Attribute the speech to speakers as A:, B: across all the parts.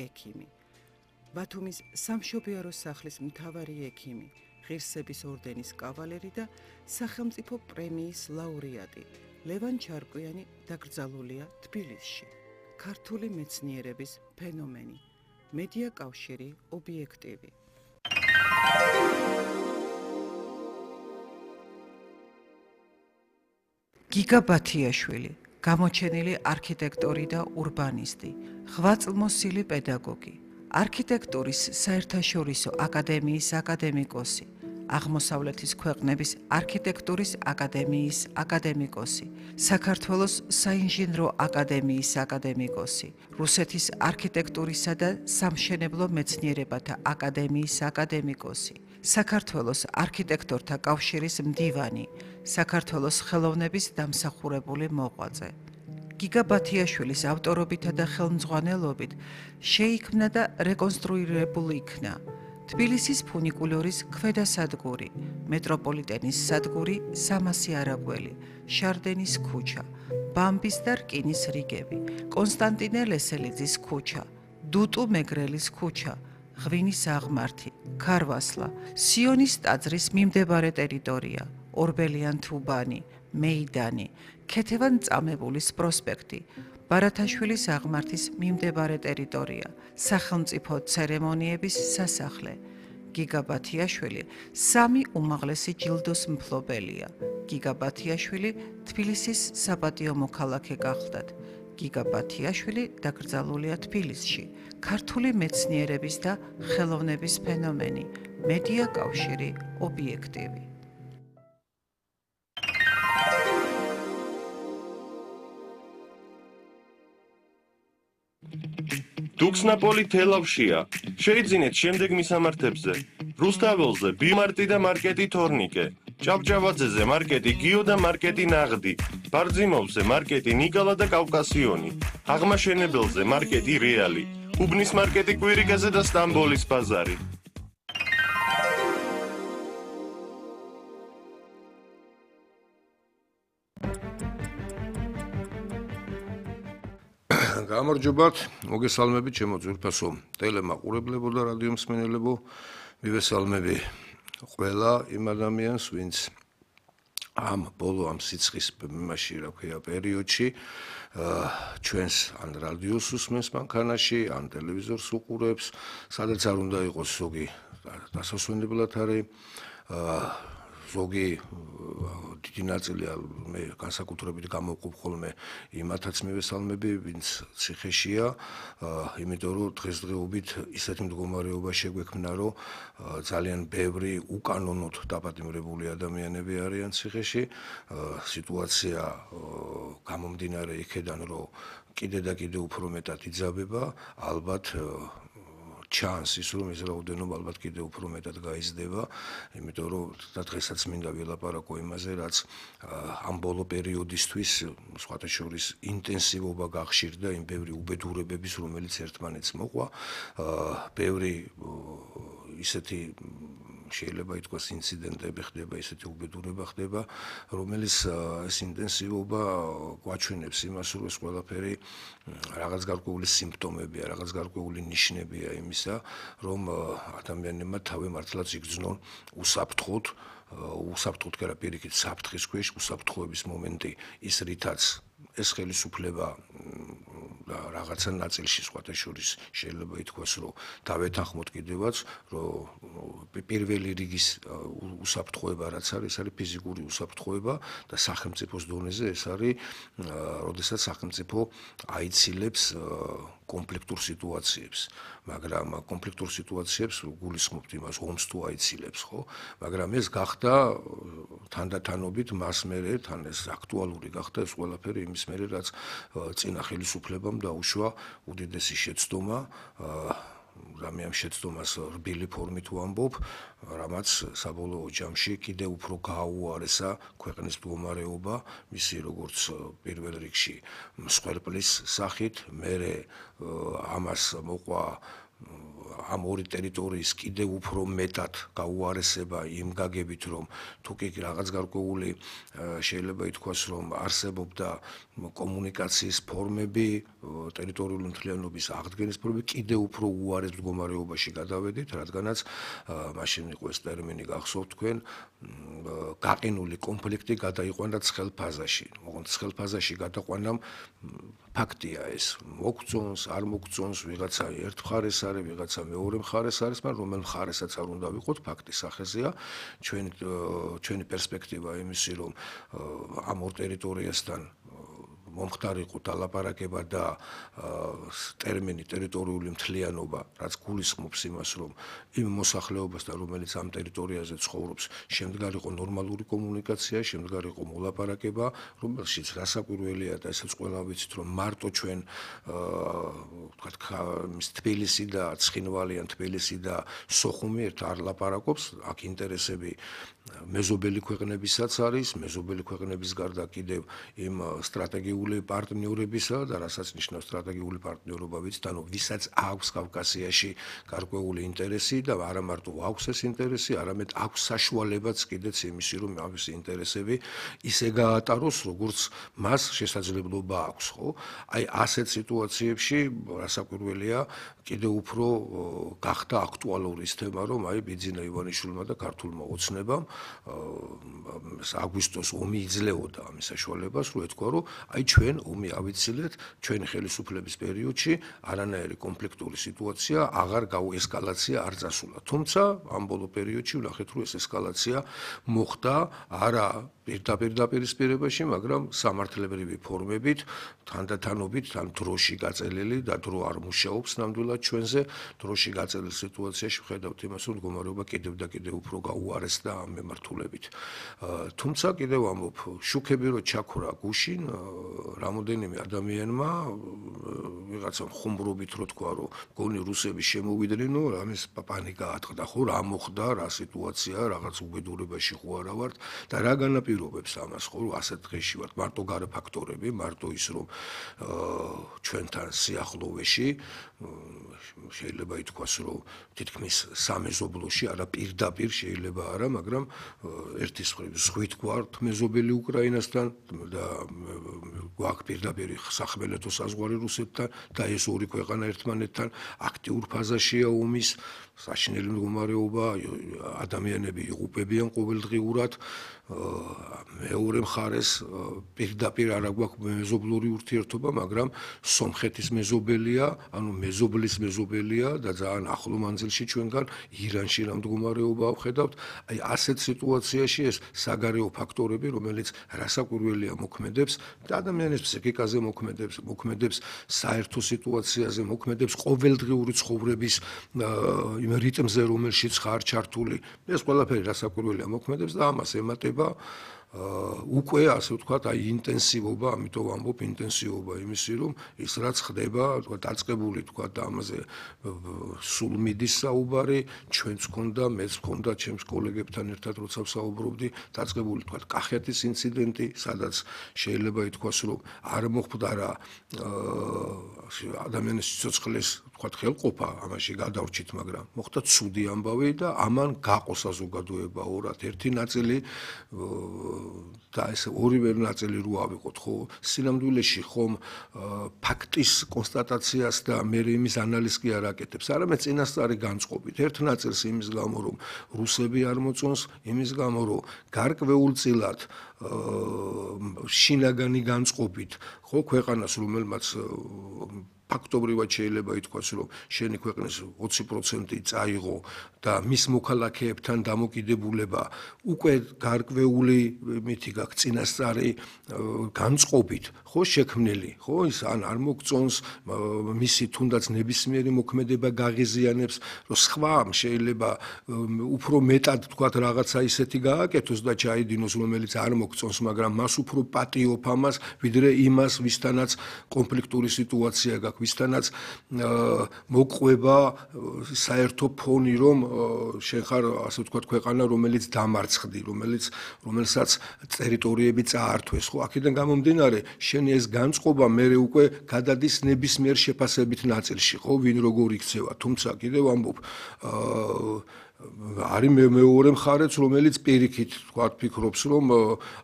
A: ექიმი. ბათუმის სამშობიარო სახლის მთავარი ექიმი, ღირსების ორდენის კავალერი და სახელმწიფო პრემიის ლაურეატი ლევან ჩარკვიანი დაკრძალულია თბილისში. ქართული მეცნიერების ფენომენი, მედია კავშირი ობიექტივი. გიგა ბათიაშვილი, გამოჩენილი არქიტექტორი და ურბანისტი, ღვაწლმოსილი პედაგოგი, არქიტექტურის საერთაშორისო აკადემიის აკადემიკოსი, აღმოსავლეთის ქვეყნების არქიტექტურის აკადემიის აკადემიკოსი, საქართველოს საინჟინრო აკადემიის აკადემიკოსი, რუსეთის არქიტექტურისა და სამშენებლო მეცნიერებათა აკადემიის აკადემიკოსი, საქართველოს არქიტექტორთა კავშირის მდივანი, საქართველოს ხელოვნების დამსახურებული მოღვაწე. გიგა ბათიაშვილის ავტორობითა და ხელმძღვანელობით შეიქმნა და რეკონსტრუირებული იქნა თბილისის ფუნიკულორის ქვედასადგური, მეტროპოლიტენის სადგური სამასი არაგველი, შარდენის ქუჩა, ბამბის და რკინის რიგები, კონსტანტინე ლესელიძის ქუჩა, დუტუ მეგრელის ქუჩა, ღვინის აღმართი, ქარვასლა, სიონის ტაძრის მიმდებარე ტერიტორია, ორბელიან თუბანი, მეიდანი, ქეთევან წამებულის პროსპექტი, ბარათაშვილის აღმართის მიმდებარე ტერიტორია, სახელმწიფო ცერემონიების სასახლე. გიგა ბათიაშვილი სამი უმაღლესი ჯილდოს მფლობელია. გიგა ბათიაშვილი თბილისის საპატიო მოქალაქე გახლდათ. გიგა ბათიაშვილი დაკრძალულია თბილისში. ქართული მეცნიერების და ხელოვნების ფენომენი, მედია კავშირი ობიექტივი.
B: დუქსნაპოლი თელავშია. შეიძინეთ შემდეგ მისამართებზე. რუსთაველზე ბიმარტი და მარკეტი თორნიკე. ჭავჭავაძეზე მარკეტი გიო და მარკეტი ნაღდი. ბარძიმოვზე მარკეტი ნიკალა და კავკასიონი. აღმაშენებელზე მარკეტი რეალი. უბნის მარკეტი კვირიკაზე და სტამბოლის ბაზარი.
C: გამარჯობათ, მოგესალმებით ჩემო ძვირფასო ტელემაყურებლებო და რადიო მსმენელებო. მივესალმები ყველა იმ ადამიანს, ვინც ამ სიცხის იმაში, რა ქვია, პერიოდში ჩვენს ან რადიოს უსმენს მანქანაში, ან ტელევიზორს უყურებს, სადაც არ უნდა იყოს ზოგი დასასვენებლად არის, ზოგი დიდი ნაწილი მე განსაკუთრებით გამოვყოფ ხოლმე იმათაც მივესალმები, ვინც ციხეშია, იმიტომ რომ დღესდღეობით ისეთი მდგომარეობა შეგვექმნა, რომ ძალიან ბევრი უკანონოდ დაპატიმრებული ადამიანები არიან ციხეში. სიტუაცია გამომდინარე იქედან, რომ კიდე და კიდე უფრო მეტად იძაბება, ალბათ ჩანს ის, რომ ეს რაოდენობა ალბათ კიდე უფრო მეტად გაიზრდება, იმიტომ რომ და დღესაც მინდა ვილაპარაკო იმაზე, რაც ამ ბოლო პერიოდისთვის სხვათა შორის ინტენსივობა გახშირდა იმ ბევრი უბედურებების, რომელიც ერთმანეთს მოყვა, ბევრი ისეთი შეიძლება ითქვას ინციდენტები ხდება, ისეთი უბედურება ხდება, რომელიც ეს ინტენსივობა გვაჩვენებს იმას, რომ ეს ყველაფერი რაღაც გარკვეული სიმპტომებია, რაღაც გარკვეული ნიშნებია იმისა, რომ ადამიანებმა თავი მართლაც იგრძნონ უსაფრთხოდ, კი არა, პირიქით საფრთხის ქვეშ, უსაფრთხოების მომენტი, ის რითაც ეს ხელისუფლება და რაღაცა ნაწილში სხვათა შორის შეიძლება ითქვას, რომ დავეთანხმოთ კიდევაც, რომ პირველი რიგის უსაფრთხოება რაც არის, არის ფიზიკური უსაფრთხოება და სახელმწიფოს დონეზე ეს არის, როდესაც სახელმწიფო აიცილებს კონფლიქტურ სიტუაციებს, მაგრამ კონფლიქტურ სიტუაციებს გულისხმობთ იმას, ომს თუ აიცილებს, ხო? მაგრამ ეს გახდა თანდათანობით მას მერე, თან ეს აქტუალური გახდა ეს ყველაფერი იმის მერე, რაც წინა ხელისუფლებამ დაუშვა უდიდესი შეცდომა, რამე ამ შეცდომას რბილი ფორმით ვამბობ, რამაც საბოლოო ჯამში კიდევ უფრო გააუარესა ქვეყნის მდგომარეობა, მისი როგორც პირველ რიგში მსხვერპლის სახით, მერე ამას მოყვა ამ ორი ტერიტორიის კიდევ უფრო მეტად გაუარესება იმ გაგებით, რომ თუ კი რაღაც გარკვეული შეიძლება ითქვას, რომ არსებობდა კომუნიკაციის ფორმები, ტერიტორიული მთლიანობის აღდგენის პრობლემა კიდევ უფრო უარეს მდგომარეობაში გადავედით, რადგანაც მაშინ იყო ეს ტერმინი გახსოვთ თქვენ, გაყინული კონფლიქტი გადაიყვანა ცხელ ფაზაში. ოღონდ ცხელ ფაზაში გადაყვანამ ფაქტია ეს, მოგწონს, არ მოგწონს, ვიღაცა ერთ მხარეს არის, ვიღაცა მეორე მხარეს არის, მაგრამ რომელ მხარესაც არ უნდა ვიყოთ, ფაქტის სახეზეა, ჩვენი პერსპექტივა იმისი, რომ ამ ორ ტერიტორიასთან მომხდარიყო დალაპარაკება და ტერმინი ტერიტორიული მთლიანობა, რაც გულისხმობს იმას, რომ იმ მოსახლეობასთან, რომელიც ამ ტერიტორიაზე ცხოვრობს, შემდგარიყო ნორმალური კომუნიკაცია, შემდგარიყო მოლაპარაკება, რომელშიც რასაკვირველია და ესეც ყველა ვიცით, რომ მარტო ჩვენ ვთქვათ, თბილისი და ცხინვალიან თბილისი და სოხუმი ერთ არ ლაპარაკობს, აქ ინტერესები მეზობელი ქვეყნებისაც არის, მეზობელი ქვეყნების გარდა კიდევ იმ სტრატეგიული პარტნიორებისა და რასაც ნიშნავს სტრატეგიული პარტნიორობა ვიცით, ანუ ვისაც აქვს კავკასიაში გარკვეული ინტერესი და არა მარტო აქვს ეს ინტერესი, არამედ აქვს საშუალებაც კიდეც იმისი, რომ ამის ინტერესები ისე გაატაროს, როგორც მას შესაძლებლობა აქვს, ხო? აი ასეთ სიტუაციებში რასაკვირველია, კიდევ უფრო გახდა აქტუალური ის თემა, რომ აი ბიძინა ივანიშვილმა და ქართულმა ოცნებამ აგვისტოს ომი იძლეოდა ამის საშუალებას, რომ ეთქვა, რომ აი ჩვენ ომი ავიცილეთ, ჩვენი ხელისუფლების პერიოდში არანაირი კონფლიქტური სიტუაცია აღარ ესკალაცია არ წასულა. თუმცა ამ ბოლო პერიოდში ვნახეთ, რომ ეს ესკალაცია მოხდა არა პირდაპირ დაპირისპირებაში, მაგრამ სამართლებრივი ფორმებით, თანდათანობით, თან დროში გაწელილი და დრო არ მუშაობს ნამდვილად ჩვენზე, დროში გაწელილ სიტუაციაში ვხედავთ იმას, რომ მდგომარეობა კიდევ და კიდევ უფრო გაუარესდა ამ მიმართულებით. თუმცა კიდევ ამბობ, შუქები რო ჩაქრა გუშინ, რამოდენიმე ადამიანმა ვიღაცა ხუმრობით რო თქვა, რომ გონი რუსები შემოვიდნენ, ამის პანიკა ატყდა, ხო, რა მოხდა, რა სიტუაცია, რაღაც უბედურებაში ხო არა ვართ და რა განაპირობებს ამას, ხო, რომ ასეთ დღეში ვართ, მარტო გარე ფაქტორები, მარტო ის, რომ ჩვენთან სიახლოვეში შეიძლება ითქვას, რომ თითქმის სამეზობლოში არა პირდაპირ შეიძლება არა, მაგრამ ერთის მხრივ ზღვით გვართ მეზობელი უკრაინასთან და გვაქვს პირდაპირ სახმელეთო საზღვარი რუსეთთან და ეს ორი ქვეყანა ერთმანეთთან აქტიურ ფაზაშია ომის, საშინელი მდგომარეობა, ადამიანები იღუპებიან ყოველდღიურად, მეორე მხარეს პირდაპირ არა გვაქვს მეზობლური ურთიერთობა, მაგრამ სომხეთის მეზობელია, ანუ მეზობლის მეზობელია და ძალიან ახლო მანძილში ჩვენგან ირანში რა მდგომარეობა ვხედავთ. აი ასეთ სიტუაციაში ეს საგარეო ფაქტორები, რომელიც რასაკვირველია მოქმედებს და ადამიანის ფსიქიკაზე მოქმედებს საერთო სიტუაციაზე, მოქმედებს ყოველდღიური ცხოვრების იმ რიტმზე, რომელშიც ხარ ჩართული. ეს ყველაფერი რასაკვირველია მოქმედებს და ამას ემატება უკვე ასე ვთქვათ, აი ინტენსივობა, ამიტომ ვამბობ ინტენსივობა იმისი, რომ ის რაც ხდება, თქვა დაწყებული ვთქვათ და ამაზე სულ მიდის საუბარი, ჩვენც გქონდა, მეც გქონდა, ჩემს კოლეგებთან ერთად როცა ვსაუბრობდი, დაწყებული ვთქვათ კახეთის ინციდენტი, სადაც შეიძლება ითქვას, რომ არ მოხდა ადამიანის სიცოცხლის ვთქვათ ხელყოფა, ამაში გადავრჩით, მაგრამ მოხდა ცუდი ამბავი და ამან გაყო საზოგადოება ორად, ერთი ნაწილი და ეს ორივე ნაწილი რო ავიღოთ, ხო, სინამდვილეში ხომ ფაქტის კონსტატაციას და მე იმის ანალიზს კი არ აკეთებს, არამედ წინასწარი განწყობით. ერთ ნაწილს იმის გამო, რომ რუსები არ მოწონს, იმის გამო, რომ გარკვეულწილად შინაგანი განწყობით, ხო, ქვეყანას, რომელმაც ფაქტობრივად შეიძლება ითქვას, რომ შენი ქვეყნის 20% წაიღო და მის მოქალაქეებთან დამოკიდებულება უკვე გარკვეული მითი გაქვს წინასწარი განწყობით, ხო, შექმნილი, ხო, ის ან არ მოგწონს, მისი თუნდაც ნებისმიერი მოქმედება გაღიზიანებს, რომ სხვამ შეიძლება უფრო მეტად თქვათ რაღაცა ისეთი გააკეთოს და ჩაიდინოს, რომელიც არ მოგწონს, მაგრამ მას უფრო პატიოფ ამას, ვიდრე იმას, ვისთანაც კონფლიქტური სიტუაცია გაქვს, ვისთანაც მოყვება საერთო ფონი, რომ შენ ხარ, ასე ვთქვათ, ქვეყანა, რომელიც დამარცხდი, რომელსაც ტერიტორიები წაართვეს, ხო, აქედან გამომდინარე, შენი ეს განწყობა მერე უკვე გადადის ნებისმიერ შეფასებით ნაწილში, ხო, ვინ როგორ იქცევა, თუმცა კიდევ ამბობ, არის მეორე მხარეც, რომელიც პირიქით თქვათ ფიქრობს, რომ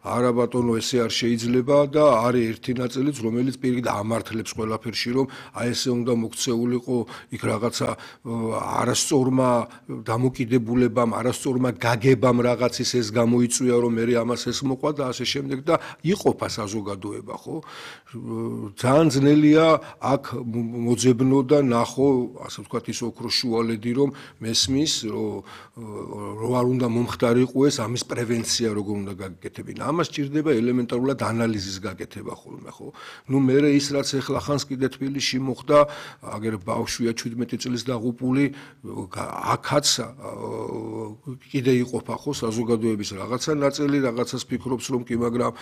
C: არა ბატონო ესე არ შეიძლება და არის ერთი ნაწილიც, რომელიც პირიქით ამართლებს ყველაფერში, რომ აი ესე უნდა მოქცეულიყო იქ რაღაცა არასწორმა დამოკიდებულებამ, არასწორმა გაგებამ რაღაცის ეს გამოიწვია, რომ მე ამას ეს მოყვა და ასე შემდეგ და იყოფა საზოგადოება, ხო? ძალიან ძნელია აქ მოძებნო და ნახო, ასე ვთქვათ, ის ოქროს შუალედი, რომ მესმის, რომ არ უნდა მომხდარიყო ეს ამის პრევენცია როგორ უნდა გაგეკეთებინა. ამას ჭირდება ელემენტარულად ანალიზის გაკეთება ხოლმე, ხო? ნუ მე ის რაც ეხლა ხანს კიდე თბილისში მოხდა, აგერ ბავშვია 17 წლის დაღუპული, აქაც კიდე იყოფა ხო საზოგადოების რაღაცა ნაწილი, რაღაცას ფიქრობს რომ კი, მაგრამ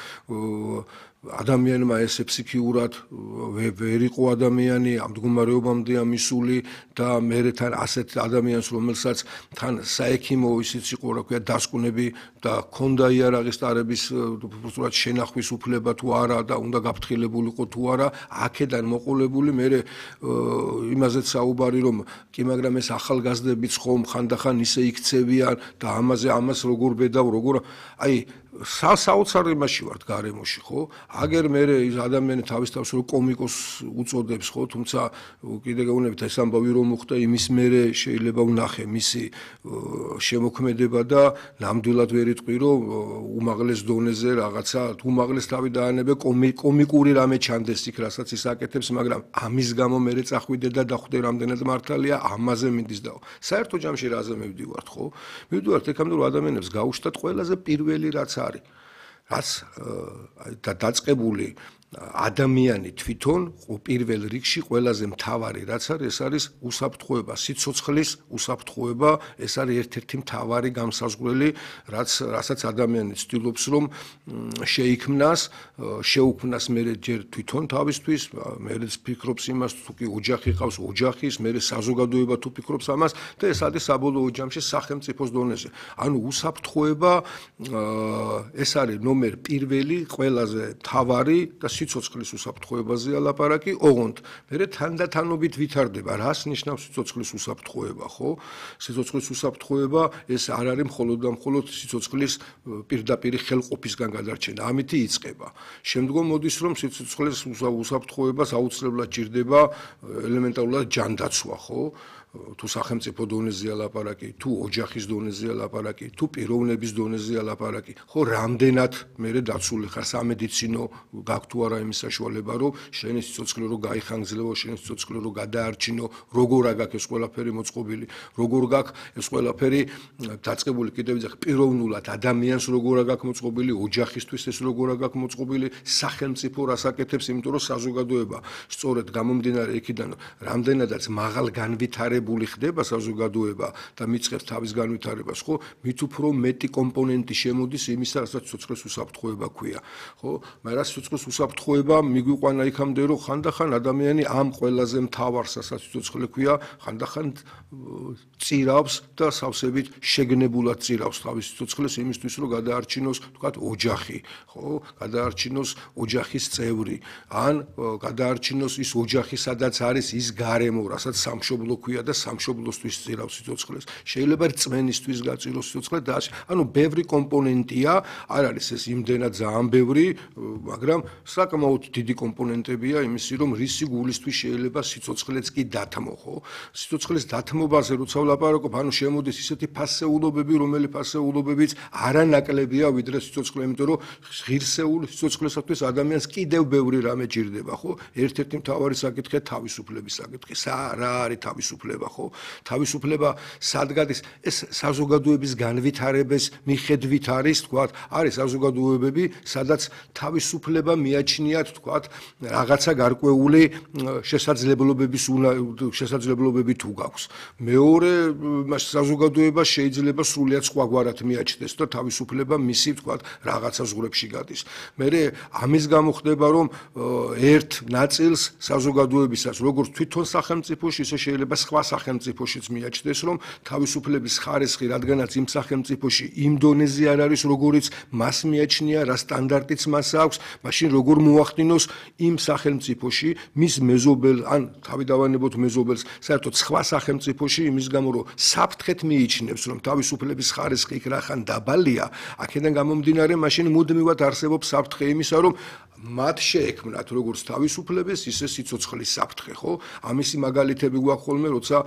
C: ადამიანმა ესე ფსიქიურად ვერ იყო ადამიანი ამ მდგომარეობამდე ამისული და მე თან ასეთ ადამიანს რომელსაც თან საექიმო ისიც იყო რა ქვია დასკვნები და ქონდა იარაღის ტარების უბრალოდ შენახვის უფლება თუ არა და უნდა გაფრთხილებულიყო თუ არა აქედან მოყოლებული მე იმაზეც საუბარი რომ კი მაგრამ ეს ახალგაზრდებიც ხომ ხანდახან ისე იქცევიან და ამას როგორ ბედავ როგორ აი საოცარ იმაში ვართ გარემოში ხო აგერ მე ის ადამიანი თავის თავს რო კომიკოს უწოდებს ხო თუმცა კიდე გეუბნებით ეს ამბავი რომ მოხდა იმის მერე შეიძლება ვნახე მისი შემოქმედება და ნამდვილად ვერ იტყვი რომ უმაღლეს დონეზე რაღაცა უმაღლეს თავი დაანებე კომიკური რამე ჩანდეს იქ რასაც ის აკეთებს მაგრამ ამის გამო მე წახვიდე და დახვდე რამდენად მართალია ამაზე მიდის და საერთო ჯამში რაზე მივდივართ ხო მივდივართ ეკამდე რომ ადამიანებს გაუშვათ ყველაზე პირველი რაც რაც დაწყებული ადამიანი თვითონ პირველ რიგში ყველაზე მთავარი რაც არის ეს არის უსაფრთხოება სიცოცხლის უსაფრთხოება ეს არის ერთ-ერთი მთავარი გამსაზღვრელი რასაც ადამიანი ცდილობს რომ შეიქმნას შეუქმნას მე ჯერ თვითონ თავისთვის მეც ფიქრობს იმას თუ კი ოჯახი ყავს ოჯახის მე საზოგადოება თუ ფიქრობს ამას და ეს არის საბოლოო ჯამში სახელმწიფოს დონეზე ანუ უსაფრთხოება ეს არის ნომერ პირველი ყველაზე მთავარი და სიცოცხლის უსაფრთხოებაზეა ლაპარაკი, ოღონდ მე თანდათანობით ვითარდება, რას ნიშნავს სიცოცხლის უსაფრთხოება, ხო? სიცოცხლის უსაფრთხოება ეს არ არის მხოლოდ და მხოლოდ სიცოცხლის პირდაპირი ხელყოფისგან გადარჩენა, ამითი იწყება. შემდგომ მოდის რომ სიცოცხლის უსაფრთხოებას აუცილებლად ჭირდება ელემენტარულად ჯანდაცვა, ხო? თუ სახელმწიფო დონეზეა ლაპარაკი, თუ ოჯახის დონეზეა ლაპარაკი, თუ პიროვნების დონეზეა ლაპარაკი, ხო რამდენად მე დაცული ხარ სამედიცინო გაქვს თუ არა იმის საშუალება, რომ შენი სიცოცხლე რო გაიხანგრძლევო, შენი სიცოცხლე რო გადაარჩინო, როგორ აგაქვს ეს ყველაფერი მოწყობილი, როგორ გაქვს ეს ყველაფერი დაწყებული კიდევ ვიძახ პიროვნულად ადამიანს როგორ აგაქვს მოწყობილი, ოჯახისთვის ეს როგორ აგაქვს მოწყობილი, სახელმწიფო რას აკეთებს, იმიტომ რომ საზოგადოება სწორედ გამომდინარე იქიდან რამდენადაც მაღალ განვითარებულ ხდება საზოგადოება და მიწყებს თავის განვითარებას, ხო? მით უფრო მეტი კომპონენტი შემოდის იმისა, რასაც სიცოცხლის უსაფრთხოება ქვია, ხო? მაგრამ სიცოცხლის უსაფრთხოება მიგვიყვანა იქამდე, რომ ხანდახან ადამიანი ამ ყველაზე მთავარ რასაც სიცოცხლე ქვია, ხანდახან წირავს და სავსებით შეგნებულად წირავს თავის სიცოცხლეს იმისთვის, რომ გადაარჩინოს, თქვათ, ოჯახი, ხო? გადაარჩინოს ოჯახის წევრი, ან გადაარჩინოს ის ოჯახი, სადაც არის ის გარემო, რასაც სამშობლო ქვია და სამშობლოსთვის წირავს სიცოცხლეს. შეიძლება რწმენისთვის გაწიროს სიცოცხლე და ანუ ბევრი კომპონენტია, არ არის ეს იმდენად ძალიან ბევრი, მაგრამ საკმაოდ დიდი კომპონენტებია იმისი, რომ რისი გულისთვის შეიძლება სიცოცხლეც კი დათმო, ხო? სიცოცხლის დათმობაზე როცა ვლაპარაკობ, ანუ შემოდის ისეთი ფასეულობები, რომელი ფასეულობებიც არანაკლებია ვიდრე სიცოცხლე, იმიტომ რომ ღირსეული სიცოცხლესათვის ადამიანს კიდევ ბევრი რამე ჭირდება, ხო? ერთ-ერთი მთავარი საკითხია თავისუფლების საკითხი. რა არის თავისუფლება? ხო თავისუფლება სად გადის ეს საზოგადოების განვითარების მიხედვით არის თქვათ არის საზოგადოებები სადაც თავისუფლება მიაჩნიათ თქვათ რაღაცა გარკვეული შესაძლებლობები თუ გაქვს მეორე საზოგადოება შეიძლება სრულიად სხვაგვარად მიაჩნდეს და თავისუფლება მისი თქვათ რაღაცა ზღვრებში გადის მე ამის გამო ხდება რომ ერთ ნაწილს საზოგადოებისაც როგორც თვითონ სახელმწიფოში ისე შეიძლება სხვა სახელმწიფოშიც მიაჩნდეს, რომ თავისუფლების ხარისხი, რადგანაც იმ სახელმწიფოში იმ დონეზე არ არის, როგორიც მას მიაჩნია, რა სტანდარტიც მას აქვს, მაშინ როგორ მოახდინოს იმ სახელმწიფოში მის მეზობელ, ან თავი დავანებოთ მეზობელს, საერთოდ სხვა სახელმწიფოში, იმის გამო, რომ საფრთხეთ მიიჩნევს, რომ თავისუფლების ხარისხი იქ რახან დაბალია, აქედან გამომდინარე, მაშინ მუდმივად არსებობს საფრთხე იმისა, რომ მათ შეექმნათ როგორც თავისუფლების, ისე სიცოცხლის საფრთხე, ხო? ამისი მაგალითები გვაქვს ხოლმე, როცა